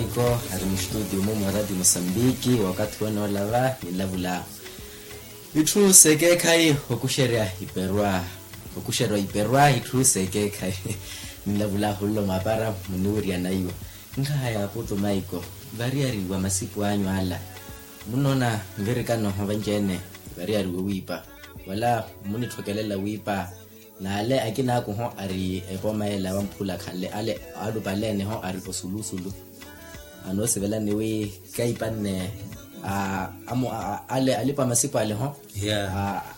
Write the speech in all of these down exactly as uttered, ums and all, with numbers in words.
Iko ari mustudio mumu wa radio mosambiki wakathi wene olava nilavula itthu sekeekhayi okuxerya iperwa. Okuxerya iperwa itthu sekeekhayi nilavula hullo mapara muniwirya naiwo. Nkhaha ya putu maiko variyari wa masipu anyu ala munoona nvirikano hovanci ene variyari wowiipa wala munithokelela wiipa. N'ale akina akuho ari epooma ela wamphula khanle ale alupaleene ho ari osulusulu. Anoosivelani wi kaipanne ale alipa masipu ale ho.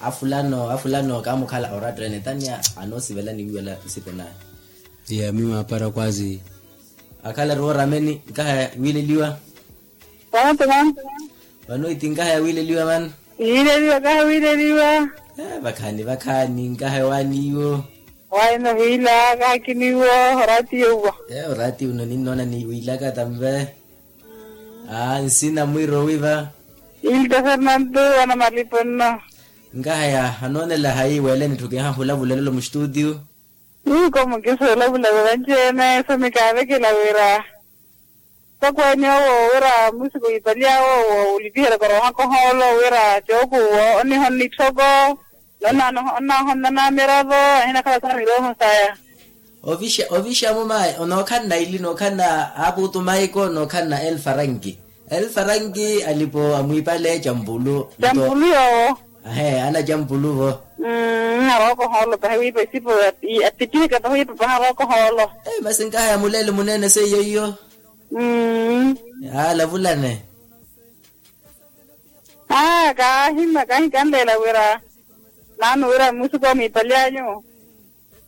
Afulano afulano kaamukhala oratta ene tanya anoosivelani wi wala masipu naye. Iya mimi apara kwazi. Akhala ari woorameni nkaha ya wiileliwa. Vano iti nkaha ya wiileliwa mano. Yiileliwa kaha wiileliwa. Vakhaani vakhaani nkaha ya waaniiwo. Waino hiila kaha kiniiwo. Oraatiyo uwa. Oraatiyo uno ninnoona ni wiilaka tamve. Aa nsina mwiiro wiva. Ilta fernanto wana malipo nno. Nkaha ya anoonela hayi weele nitthukiha hulavulelelo mustutiyo. Ii komu kiso olavula veva nci-ene so mikaavekela wira. Sakweenye owo wira musiku yiipali awo owo olipiherya koroha kohoolo wira cooku owo oniho nnitthoko. Nonnaahonnana miravo ahinakhala sa miroho saya. Ovixa ovixa mumayi onookhanna ili nookhanna aapuutu maiko nookhanna elfaranki. Elfaranki alipo amwiipale campulu. Campulu yoowo. Ahe ana campulu vo. Mmm arookohoolo pahi wiipa esipo. Atipihika pahi wiipa pahi arookohoolo. Masi nkaha ya muleele muneene seiyo iyo. Mmm. Aa lavulane. Aa kaahima kahikanleela wira naanu wira musiku wa mwiipali anyu.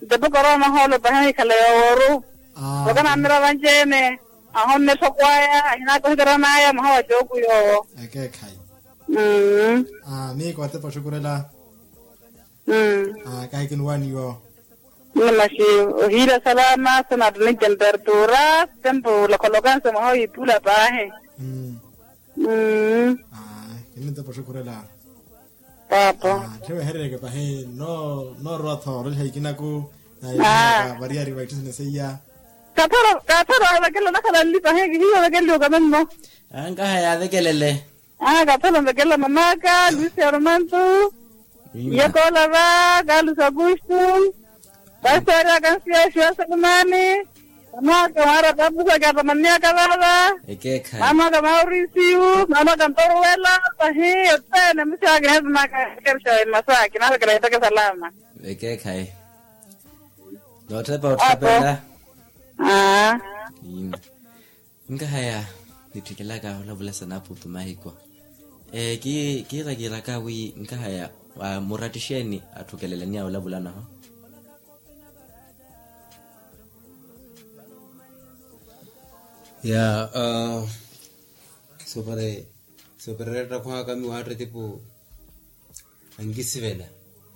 Ntepo korona hoolo pahi ahikhala yoowooru. Vakanaamira vanci-ene ahonne etthoko aya ahinaka ohikera n'aya mwaha wa cooku yoowo. Ekeekhayi. Mmm. Miiko atepa oxukurela. Mmm. Kahi kinuwaani yoowo. Masi ohiira salama so naatunice mpertura tempo olokolokanse mwaha ohiipula paahi. Mmm. Mmm. Kinintepa oxukurela. Paapo. Ttheweherereke pahi noorowa-tho oreliha ikinaku. Naye variyari wa itthu sene seiya. Kathara kathara ovekela onakhala nli pahi kihiyo ovekeliwe okame mmo. Nkaha yaavekelele. Kathara onvekelela mamaka lucia romanto. Iyakoola va carlos augusto. Pastori akansiya exiwa selumani. Mamaka mwaara tapusa kaatamaniyaka vava. Mamaka maurisiu mamaka ntoruwela. Pahi othene musiwaka ehesimaka ekerisha emasaaki navekela ipeke salama. Ekeekhayi. Nootthepa otthepela. Nkahaya nitthekelaka olavula sa naaputu mahiko. Kiira kiiraka wi nkahaya muratthi xeeni atthukelelaniya olavulanaho? Ya. Soopereretta khwaka miwaatta tipu ankisivela.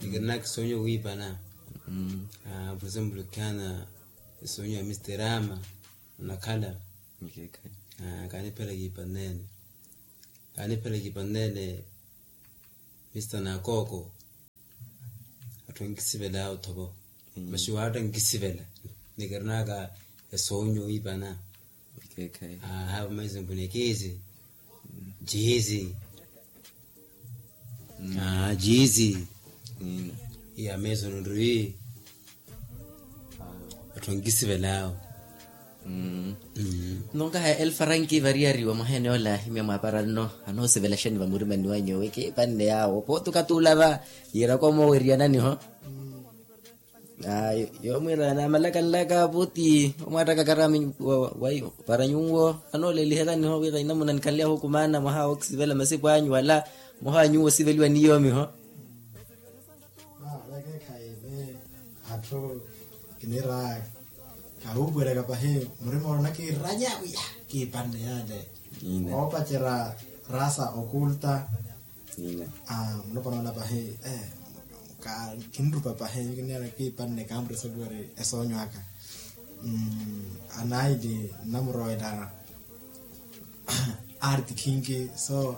Nikirinaka esonyo wiipana. Por exemplo kihana esonyo ya mister ama. Onakhala kaaniphela kiipanneene. Kaaniphela kiipanneene. Mister nakooko. Atthu ankisivela othovo. Masi waatta ankisivela. Nikirinaka esonyo wiipana. Aha vamaize mpwina ekiizi. Jiizi. Jiizi. Iya meeso nonriwi. Atthu ankisivela awo. Nno nkahaya elfaranki variyari wa mwaha ene ola ahimya mwaapara nno. Anoosivela xeeni vamurimani wa nyuwo ekiipanne yaawo pooti okatula va. Yiiraka omoweriyananiho. Ayo yoomwiira naamalakanlaka puti omwaattaka karami. Para nyuwo anooleliheryaniho wira inamuna nikhanly'ahu okumaana mwaha wooksivela masipu anyu wala mwaha wa nyuwo osiveliwa ni yoomiho. Vekeekhayi ni atthu kiniira kahuupuweryaka pahi murima oona kiiranya wiya kiipanne yale. Oopacerya rasa okulta. Mulopwana ola pahi kinrupa pahi kinera kiipanne kaamurisa luwari esoonyo aka. Anaili nnamurowa ela arti khinki so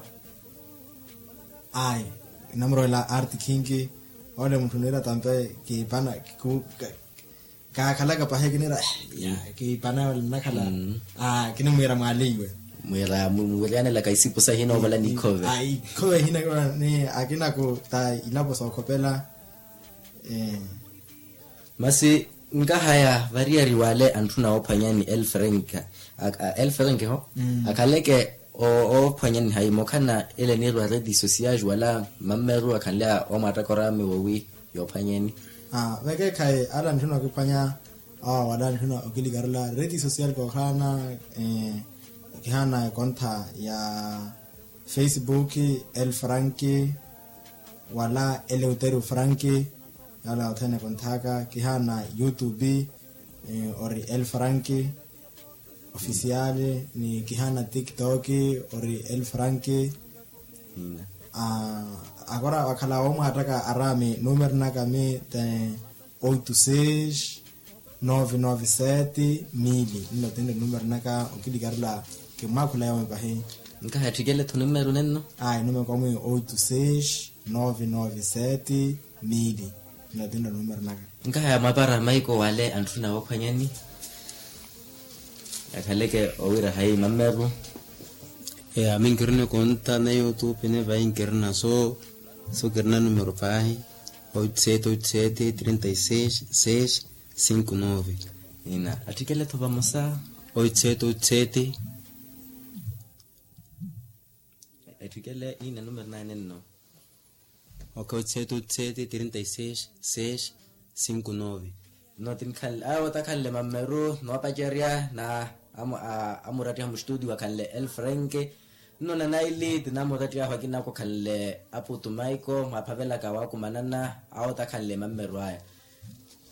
ayi nnamurowa ela arti khinki. Ole mutthu niira tampe kiipana. Kaakhalaka pahi kinira, kipana nnakhala. Kinimwiira mwaleiwe. Mwiira mwiiryanelaka isipu sahina ovala nikhove. Ikhove hina akinaku ta ilapo sookhopela. Masi nkahaya variyari wale antthuna oophwanyani elfrenk. Elfrenk ho akhaleke oophwanyani hayi mokhana ele niirwa redi sosiyaji wala mammeru akhanle omwattaka oraami wowi yoophwanyeni. Vekeekhayi ale antthuna okiphwanya awa wala antthuna okilikarela redi sosiyali koohaana. Kihaana ekontha ya facebook, elfrank wala eleuterio frank. Yala othene konthaka kihaana youtube ori elfrank ofisiali ni kihaana tiktok ori elfrank. Akora wakhala womwattaka araami numero naka mi te oito seis nove nove sete mili nno tinre numero naka okilikarela. Kimmwaakhula yawe pahi. Nkaha etthikele-tho numero nenno. Ai numero kwamwi oito seis nove nove sete mili. Nno tinre numero naka. Nkaha ya mwapara maiko wale antthuna woophwanyani akhaleke owira hayi mammeru. Ami nkirina ekonta na youtube ne vayi nkirina so so kirina numero pahi. Oito sete oito sete trinta e seis seis cinco nove. Ina atthikele-tho vamosa. Oito sete oito sete. Etthikele ina numero naye nenno. Ok oito sete oito sete trinta e seis seis cinco nove. Nno tinkhanle awo takhanle mammeru noopacerya na amurattiha mustudio akhanle elfrenk. Nno nanaili tinamurattiha ahu akinako akhanle aputu maiko mwaaphavelaka waakumanana awo takhanle mammeru aya.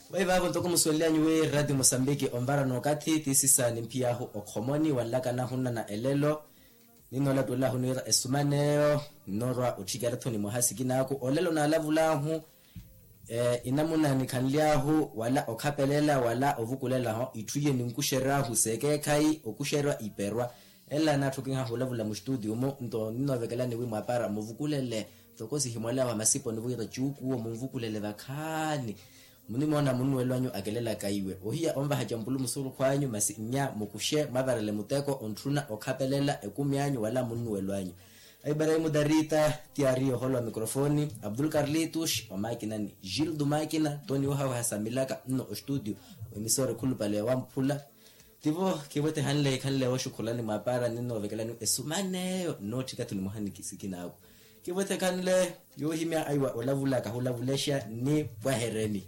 Vayi vaavo ntoko musuwelelyanyu wi radio mosambiki onvara nookathi tiisisa nimphiyahu okhomoni wanlaka nahunnana elelo. Ninnoolatuwelahu niira esuman'eyo nnoorwa otthikela-tho ni mwaha sikin'aku olelo naalavulahu. Enamuna nikhanly'ahu wala okhapelela wala ovukulela-ho itthu iye ninkuxery'ahu s'ekeekhayi okuxerya iperwa. Ela naatthukihahu olavula muxituutiyu-mu nto ninnoovekelani wi mwaapara muvukulele. Ntoko sihimwal'ahu amasipo niwira cuukuwo munvukulele vakhaani. Munimoona munnuwelo anyu akelelaka iwe ohiya onvaha campulu musurukhu anyu masi nnya mukuxe mwavarele muteko ontthuna okhapelela ekumi anyu wala munnuwelo anyu. Aibarahimu darita ti aari oholo wa mikrofoni abdul karlitus wa makinani gildo makina toni wohawaha samilaka nno ostudio. Emisora ekhulupale wamphula. Tivo kiwetehanle ikhanle woxukhulani mwaapara ninnoovekelani esuman'eyo nnootthika-tho ni mwaha ni sikin'aku. Kiwetekhanle yoohimya aiwa olavula kahulavulexa ni pwahereni.